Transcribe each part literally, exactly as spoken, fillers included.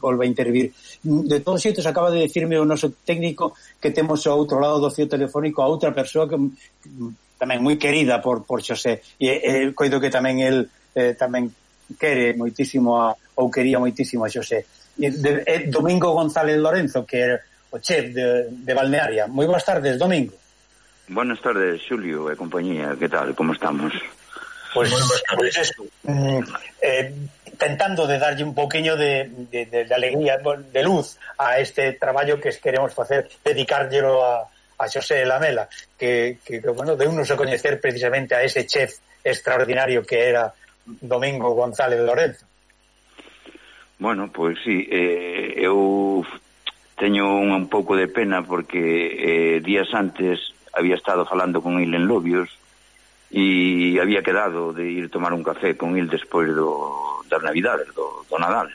volva a intervir. De todos xeitos, acaba de decirme o noso técnico que temos ao outro lado do fío telefónico a outra persoa que tamén moi querida por, por Xosé, e eh, coido que tamén el eh, tamén quere moitísimo a, ou quería moitísimo a Xosé. E, de, eh, Domingo González Lorenzo, que é o chef de, de Balnearia. Moi boas tardes, Domingo. Buenas tardes, Xulio e compañía, que tal, como estamos? Pois, pues eso, mm, eh, tentando de darlle un poquinho de, de, de, de alegría, de luz a este traballo que queremos facer, dedicárllelo a, a Xosé Lamela, que, que, que bueno, de unos a coñecer precisamente a ese chef extraordinario que era Domingo González Lorenzo. Bueno, pois pues, sí, eh, eu teño un, un pouco de pena porque eh, días antes había estado falando con il en Lobios e había quedado de ir tomar un café con il despois do, das Navidades, do, do Nadal.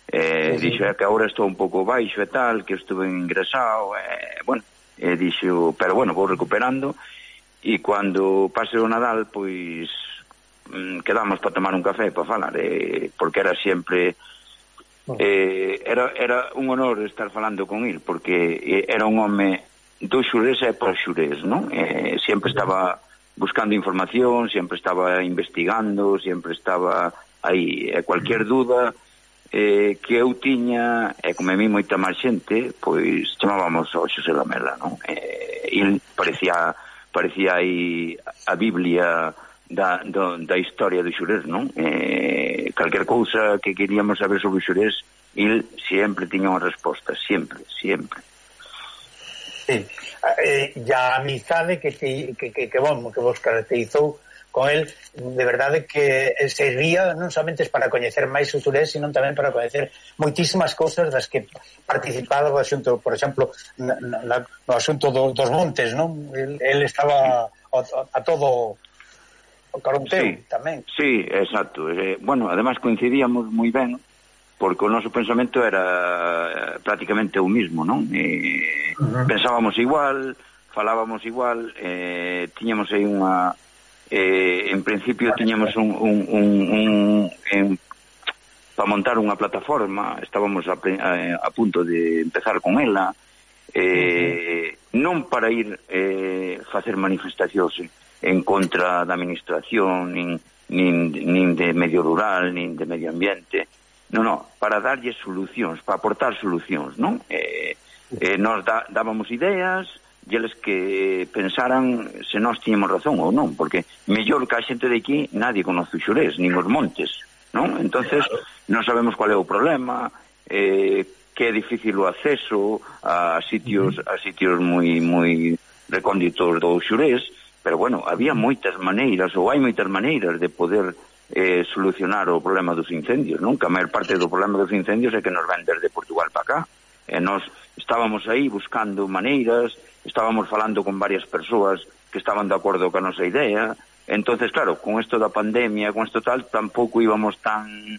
Eh, sí, sí. Dixo é que agora estou un pouco baixo e tal, que estuve ingresado, eh, bueno, eh, dixo, pero bueno, vou recuperando, e cando pase o Nadal, pois mm, quedamos para tomar un café, para falar, eh, porque era sempre... Eh, era, era un honor estar falando con il, porque eh, era un home do Xurés e por Xurés, non? Eh, sempre estaba buscando información, sempre estaba investigando, sempre estaba aí, e cualquier dúda eh, que eu tiña, e como a mí moita máis xente, pois chamábamos ao Xosé Lamela, non? Eh, il parecía parecía aí a Biblia da, do, da historia do Xurés, non? Eh, calquer cousa que queríamos saber sobre o Xurés, il sempre tiña unha resposta, sempre, sempre. Sí, eh, e a amizade que, que, que, que, bom, que vos caracterizou con el, de verdade que servía non somente para coñecer máis o Xurés, sino tamén para coñecer moitísimas cousas das que participaba do asunto, por exemplo, na, na, no asunto do, dos montes, non? El, el estaba a, a todo o caronteo, sí, tamén. Sí, exacto. Eh, bueno, además coincidíamos moi ben, porque o noso pensamento era prácticamente o mismo, non? Eh, uh-huh. Pensábamos igual, falábamos igual, eh, tiñamos aí unha... Eh, en principio tiñamos un... un, un, un en, para montar unha plataforma, estábamos a, a, a punto de empezar con ela, eh, uh-huh. non para ir eh, facer manifestacións en contra da administración, nin, nin, nin de medio rural, nin de medio ambiente... Non, non, para darlle solucións, para aportar solucións, non? Eh, eh, nos da, dábamos ideas e eles que pensaran se nós tiñamos razón ou non, porque mellor que a xente de aquí nadie conoce o Xurés, nin os montes, non? Entonces non sabemos cual é o problema, eh, que é difícil o acceso a sitios a sitios moi moi recónditos do Xurés, pero bueno, había moitas maneiras, ou hai moitas maneiras de poder Eh, solucionar o problema dos incendios, non? Que a maior parte do problema dos incendios é que nos ven desde Portugal para acá, e nós estábamos aí buscando maneiras, estábamos falando con varias persoas que estaban de acordo con a nosa idea. Entonces, claro, con isto da pandemia, con isto tal, tampouco íbamos tan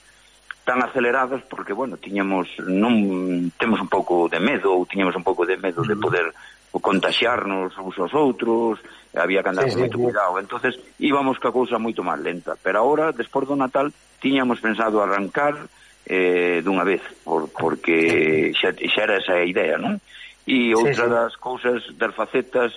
tan acelerados, porque, bueno, tiñamos non temos un pouco de medo, ou tiñamos un pouco de medo de poder o contaxiarnos uns aos outros, había que andar sí, con moito sí, cuidado, entonces íbamos ca cousa moito máis lenta, pero agora, despois do Natal, tiñamos pensado arrancar eh, dunha vez, por, porque xa, xa era esa idea, non? E outra sí, sí. das cousas, das facetas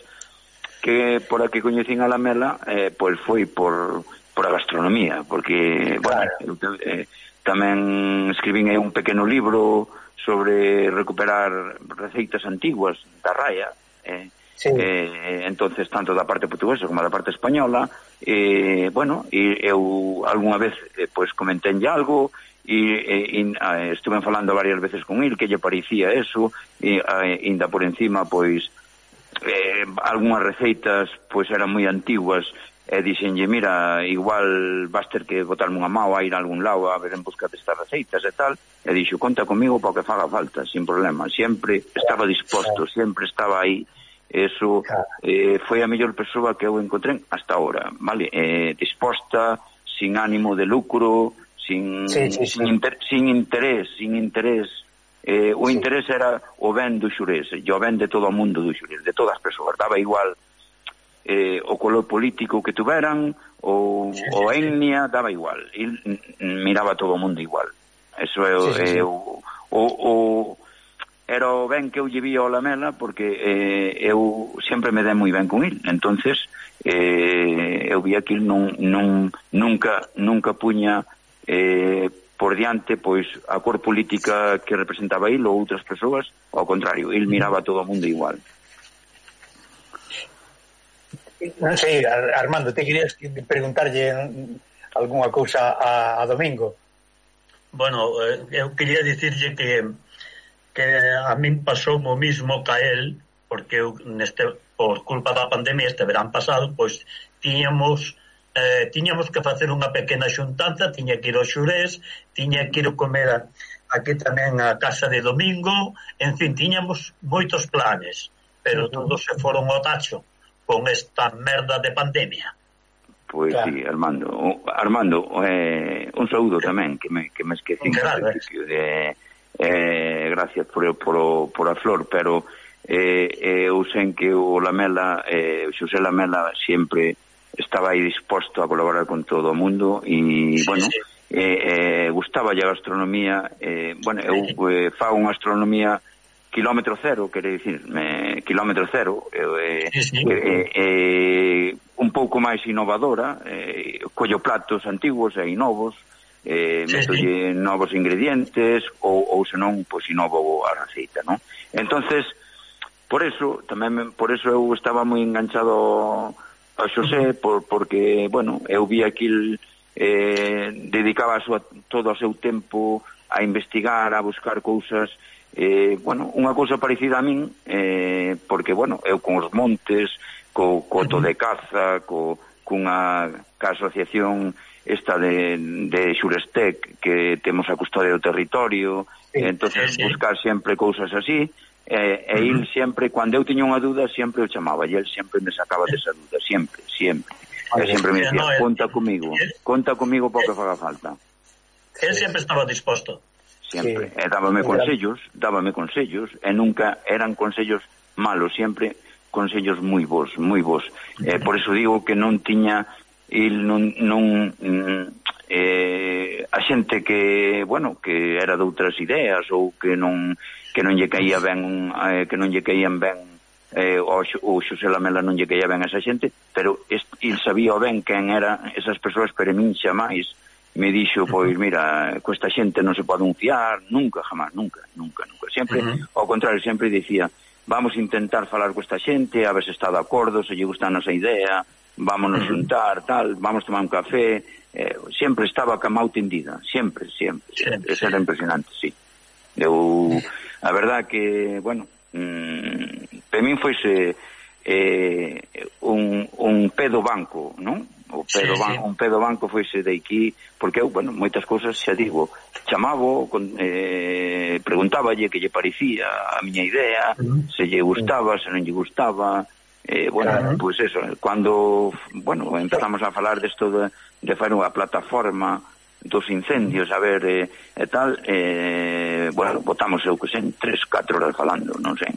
que por a que coñecín a Lamela, eh, pois foi por, por a gastronomía, porque, claro. bueno, eu, eh, tamén escribín aí un pequeno libro sobre recuperar receitas antiguas da Raya, eh, sí. eh, entonces tanto da parte portuguesa como da parte española, eh, bueno, e eu algunha vez eh, pois comentenlle algo e, e, e eh, estuve falando varias veces con il que lle parecía eso, e eh, ainda por encima pois eh, algunhas receitas pois eran moi antiguas, e dixenlle, mira, igual vas ter que botarme unha mao a ir a algún lado a ver en busca destas receitas e tal, e dixo, conta comigo para o que faga falta, sin problema, sempre estaba disposto, sempre estaba aí. Eso eh, foi a mellor persoa que eu encontrei hasta ahora, vale? Eh, disposta, sin ánimo de lucro, sin, sí, sí, sí. sin, inter, sin interés, sin interés. Eh, o sí. interés era o ben do Xurés, e o ben de todo o mundo do Xurés, de todas as persoas, daba igual eh, o color político que tuveran, ou sí, sí, o etnia, daba igual, e miraba todo o mundo igual. Eso é, sí, sí, sí. é o, o, o era o ben que eu lle vía ao Lamela, porque eh, eu sempre me dei moi ben con il, entonces eh, eu vía que il non, non, nunca, nunca puña eh, por diante pois a cor política que representaba il ou outras persoas, ao contrario, il miraba a todo o mundo igual. Non sei, Armando, te querías preguntarlle algunha cousa a, a Domingo? Bueno, eu quería dicirlle que que a min pasou o mismo ca el, porque eu neste, por culpa da pandemia este verán pasado, pois tiñamos Eh, tiñamos que facer unha pequena xuntanza, tiña que ir ao Xurés, tiña que ir a comer aquí tamén a casa de Domingo, en fin, tiñamos moitos planes, pero todos se foron ao tacho con esta merda de pandemia. Pois claro. Sí, Armando, Armando, eh, un saúdo tamén, que me, que me esqueci claro, eh. Eh, gracias por, por, por a flor, pero eh, eu sei que o Lamela, eh, Xosé Lamela sempre estaba aí disposto a colaborar con todo o mundo e, sí, bueno, sí. Eh, eh, gustaba a gastronomía, eh, bueno, eu eh, fago unha astronomía kilómetro cero, quere dicir, eh, kilómetro cero, eh, sí, sí. Eh, eh, un pouco máis innovadora, eh, collo platos antigos e novos, eh, sí, metolle sí. novos ingredientes, ou, ou senón, pois, inovo a receita, non? Entonces, por eso, tamén, por eso eu estaba moi enganchado a Xosé, por, porque, bueno, eu vi aquí eh, dedicaba a súa, todo o seu tempo a investigar, a buscar cousas, eh, bueno, unha cousa parecida a min, eh, porque, bueno, eu con os montes, co coto de caza, co, cunha ca asociación esta de, de Xurestec, que temos a custodia do territorio, sí, entonces sí, sí. buscar sempre cousas así, Eh, e il sempre, cando eu tiña unha dúda, sempre o chamaba e el sempre me sacaba desa dúda, sempre, sempre e sempre me dicía, conta comigo conta comigo porque faga falta. El sempre estaba disposto sempre, e dábame consellos dábame consellos, e nunca eran consellos malos, sempre consellos moi bons, moi bons, eh, por eso digo que non tiña il non, non eh, a xente que, bueno, que era de outras ideas ou que non que non lle caía ben eh, que non lle caían ben eh, o, o Xosé Lamela non lle caía ben a esa xente, pero est, il sabía ben quen eran esas persoas, pero min xa máis me dixo, pois mira, costa xente non se pode unfiar, nunca, jamás, nunca, nunca, nunca, sempre, uh -huh. ao contrario, sempre dicía, vamos a intentar falar con esta xente, a ver se está de acordo, se lle gusta a nosa idea, vámonos uh -huh. juntar, tal, vamos tomar un café, eh, sempre estaba ca mau tendida, sempre, sempre, sempre. Eso era impresionante, sí. Eu, a verdad que, bueno, mmm, para min foise eh, un, un pedo banco, non? O pedo sí, banco, sí. Un pedo banco foise de aquí, porque eu, bueno, moitas cousas xa digo, chamavo, con, eh, preguntáballe que lle parecía a miña idea, uh -huh. se lle gustaba, se non lle gustaba, eh, bueno, uh -huh. pues eso, cando, bueno, empezamos a falar desto de, de fazer unha plataforma dos incendios, a ver, e eh, tal, eh, bueno, botamos eu que sen tres, catro horas falando, non sei,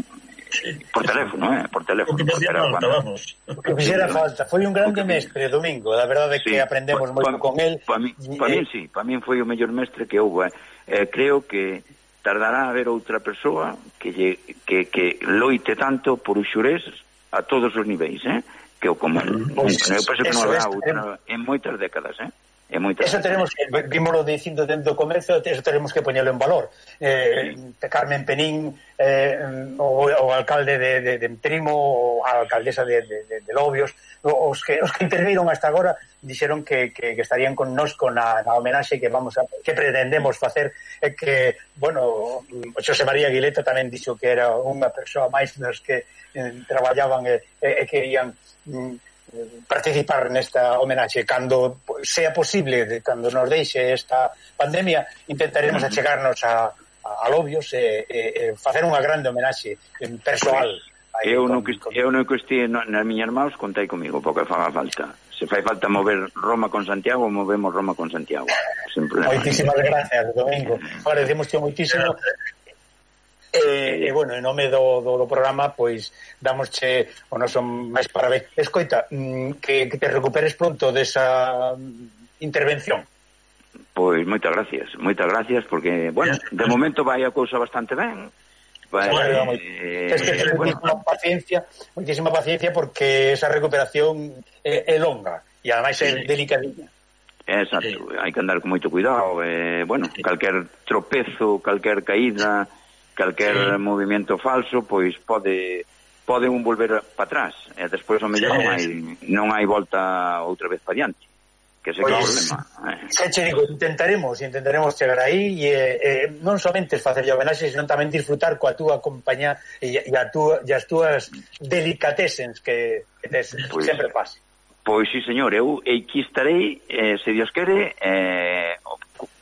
por teléfono, eh, por teléfono. O que fixera falta, vamos. O que fixera falta, foi un grande mestre, Domingo, la verdade é que sí, aprendemos pa, moito pa, con el. Para mí, pa eh, mí, sí, para mí foi o mellor mestre que houve, eh, creo que tardará a haber outra persoa que, lle, que, que loite tanto por os Xurés a todos os niveis, eh, que o como el, pues, eu penso que non habrá outra en moitas décadas, eh. Eso tenemos que, vímoslo dicindo dentro do comercio, eso tenemos que poñelo en valor. Eh, Carmen Penín, eh, o, o alcalde de, de, de Trimo, o a alcaldesa de, de, de, de Lobios, os que, os que interviron hasta agora dixeron que, que, que estarían con nos con a, a homenaxe que vamos a, que pretendemos facer, eh, que, bueno, Xosé María Aguileta tamén dixo que era unha persoa máis nos que eh, traballaban e eh, eh, querían mm, participar nesta homenaxe cando sea posible, de, cando nos deixe esta pandemia, intentaremos achegarnos a, a, a Lobios e, e, e facer unha grande homenaxe persoal. Eu non que eu non que estive nas miñas mãos, contai comigo, porque faga falta. Se fai falta mover Roma con Santiago, movemos Roma con Santiago. Moitísimas gracias, Domingo. Agradecemos moitísimo. E, e bueno, en nome do, do, do programa, pois damosche o noso máis parabéns. Escoita, que, que te recuperes pronto desa intervención. Pois moitas gracias, moitas gracias, porque, bueno, de momento vai a cousa bastante ben. Vai, bueno, eh, es que ten bueno, moitísima paciencia, moitísima paciencia porque esa recuperación é, é longa e ademais é sí. delicadinha. Exacto, sí. Hai que andar con moito cuidado, eh, bueno, sí. calquer tropezo, calquer caída, calquer sí. movimento falso, pois pode pode un volver para atrás, e despois ao mellor sí. non hai non hai volta outra vez para diante. Que ese pues, que é o problema. Eh. Xa che digo, intentaremos, intentaremos chegar aí e eh, non somente facer a homenaxe, senón tamén disfrutar coa túa compañía e, e, a túa, e as túas delicatesens que, que tes, pues, sempre pase. Pois sí, señor, eu aquí estarei, eh, se Dios quere, eh,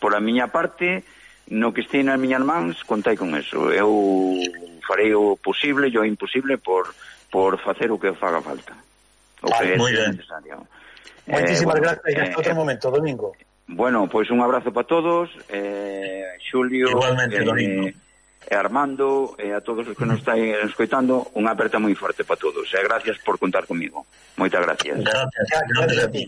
por a miña parte, no que estei nas miñas mans, contai con eso. Eu farei o posible e o imposible por, por facer o que faga falta. O vale, que moi é necesario. Moitísimas eh, gracias, e hasta eh, outro momento, Domingo. Bueno, pois pues un abrazo para todos, eh, Xulio, igualmente, eh, Domingo, e Armando, e a todos os que nos estáis escoitando, unha aperta moi forte para todos, e gracias por contar comigo. Moitas gracias. Gracias, gracias a ti.